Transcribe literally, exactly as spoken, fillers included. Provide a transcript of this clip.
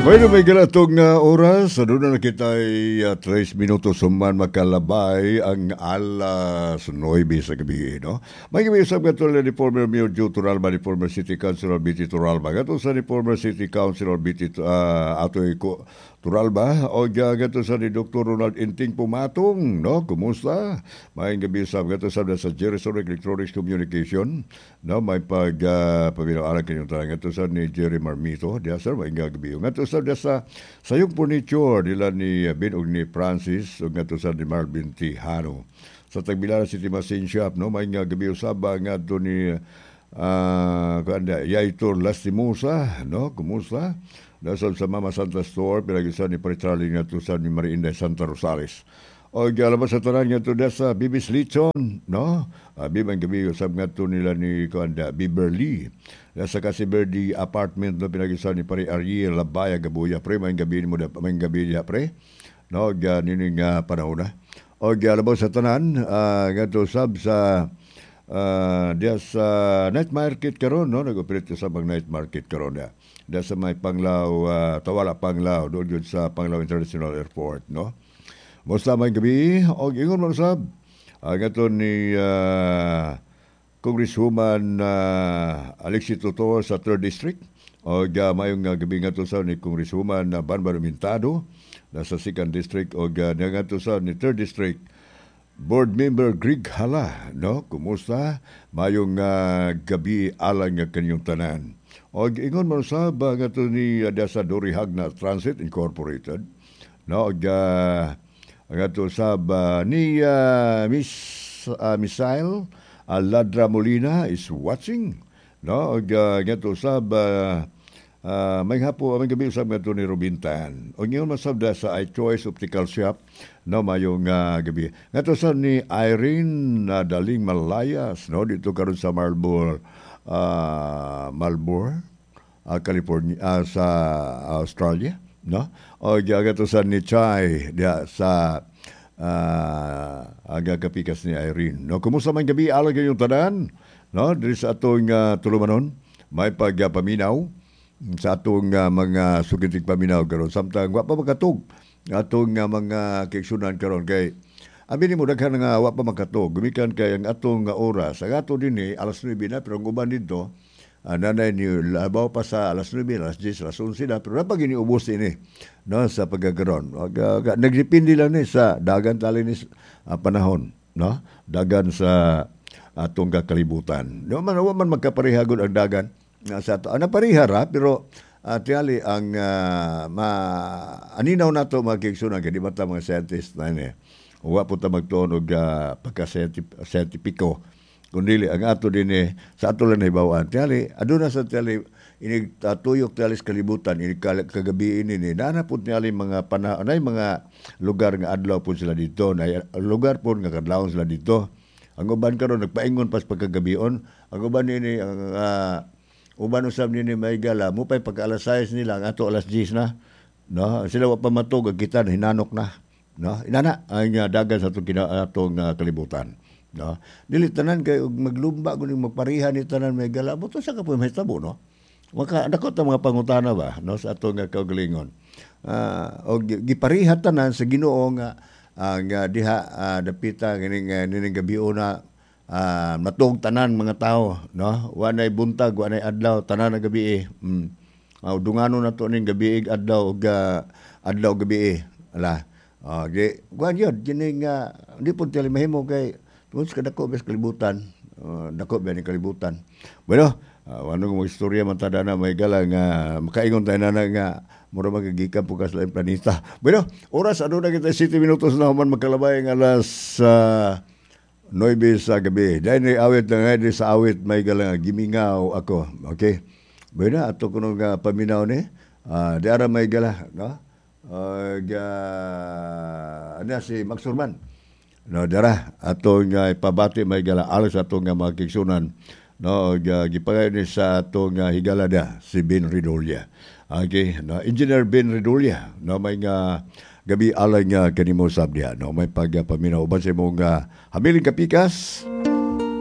Bueno, may galatong uh, oras, doon na kita ay uh, tres minutos human makalabay ang alas nuwebe sa gabi, no? May gabi sa gato ni former Mayor Joe Torralba, ni former City Councilor B T. Torralba. Gato sa ni former City Councilor B T. Uh, Atoy ko Torralba, o gato sa ni Doctor Ronald Inting Pumatong, no? Kumusta? May gabi sa gato sa sa Jerry Sonic Electronics Communication, no? May pag uh, paminaw kanyong tanan. Gato sa ni Jerry Marmito, diya sir, may gabi. Gato sa sa Sayong Furniture nila ni Ben ug ni Francis ug ngadto sa ni Marvin Tijano. Sa Tagbilaran City Machine Shop, no, may nga gabi usab ngadto ni uh, kuan Yaitor Lastimosa, no, kumusta? Dasal sa Mama Santa Store, pinag-isa ni Pare Charlie ngadto sa ni Mariinda Santa Rosales. O labas sa tanan ngadto sa Bibis Lichon, no? Uh, bibang gabi usab ngadto nila ni kuan Beverly. Sa Kasi Verde Apartment, no, pinag-isa ni Pare Ariel Labaya Gabuya. Pre, may gabi mo may gabi diha, pre. No, ga nini nga panahon na. O labas sa tanan uh, ngadto sab sa uh, diya sa night market karon, no, nag-operate sa bang night market karon diya. Diya sa may Panglao, uh, Tawala Panglao, doon yun sa Panglao International Airport, no. Musta, may gabi, og ingon man sab. Uh, ngadto ni uh, Congresswoman uh, Alexi Tutor sa third District. Og uh, mayong uh, gabi ngadto sa ni Congresswoman uh, Banban Mintado sa second District og uh, ngadto sa ni third District Board Member Greg Hala, no? Kumusta? Mayong uh, gabi alang nga kanyong tanan. Og ingon man sab uh, ngadto ni uh, sa Dory Hagna Transit Incorporated, no? Og uh, ngadto sab uh, ni uh, Miss uh, Misael uh, Ladra Molina is watching, no? Og uh, ngadto sab uh, uh, may hapo, may gabi usab ngadto ni Robin Tan. Og ingon man sab da sa iChoice Optical Shop, no, mayong uh, gabi. Ngadto sa ni Irene uh, Daling Malayas, no, dito karon sa Marlboro uh, Marlboro uh, California, uh, sa Australia, no? O ngadto sa ni Chai diha sa uh, aga kapikas ni Irene. No, kumusta man, gabi alang kayong tanan, no? Diri sa atong uh, tulumanon, may pagpaminaw sa atong uh, mga sugitig paminaw karon samtang wa pa makatug atong uh, mga kaigsunan karon kay abi nimo daghan nga wa pa makatug gumikan kay ang atong uh, oras ang ato dinhi alas nuwebe na, pero ang uban didto uh, nanay ni labaw pa sa alas nuwebe, alas diyes, alas onse na, pero napag iniubos ini, no, sa pagkakaroon. Uh, nagdepende lang ni sa dagan tali ni uh, panahon, no, dagan sa atong kakalibutan. No man, wa man magkaparehagod ang dagan nga sa ato. Ana pareha ra, pero uh, tingali ang uh, ma aninaw nato mga kaigsunan kay di ba ta mga scientist na ini. Wa po ta magtuon og uh, pagka-scientipiko. Kundi ang ato din eh, sa ato lang nahibaw-an. Tingali aduna sa tingali inig uh, tuyok tingali sa kalibutan inig kagabi ini ni naa po tingali mga panahon nay mga lugar nga adlaw po sila dito, nay lugar po nga kadlawon sila dito. Ang uban karon nagpaingon pas pagkagabion. Ang uban nini ang uh, uban usab nini may gala mo pay pagka alas sais nila, ang ato alas diyes na, no? Sila wa pa matug, kita hinanok na, no? Inana ang uh, dagan sa atong kina, atong uh, kalibutan, no? Dili tanan kay og maglumba kuning magpareha ni tanan may gala mo to sa kapoy mahitabo, no? Maka dako ta mga pangutana ba, no, sa atong uh, kaugalingon uh, og gipariha tanan sa Ginoo nga uh, nga diha uh, dapita kining uh, nining gabi na uh, matug tanan mga tao, no? Wa nay buntag, wa nay adlaw, tanan na gabi eh. mm. uh, dungano na to ning gabi adlaw ug uh, adlaw gabi eh. Ala uh, di kuan yun kining uh, di pud tali mahimo kay tungod sa kadako bes kalibutan, uh, dako ba ni kalibutan. Bueno, uh, ano mga istorya man tada na may gala nga makaingon tayo na nga mura magagikan po ka sa laing planeta. Bueno, oras ano na kita siyete minutos na human magkalabay ang alas uh, nuwebe sa gabi. Dahil ni awit na nga sa awit may gala "Gimingaw Ako." Okay? Bueno, ato kuno nga paminaw ni. Uh, di ara may gala, no? Uh, ga, ano si Max Surman. No, dara ato nga ipabati may gala alas ato nga mga kaigsunan, no, ga, gipangay ni sa ato nga higala da si Ben Redolia. Okay, no, Engineer Ben Redolia, no, may nga gabi alay nga kanimo sab diha, no, may pagpaminaw uban sa imong uh, habiling kapikas.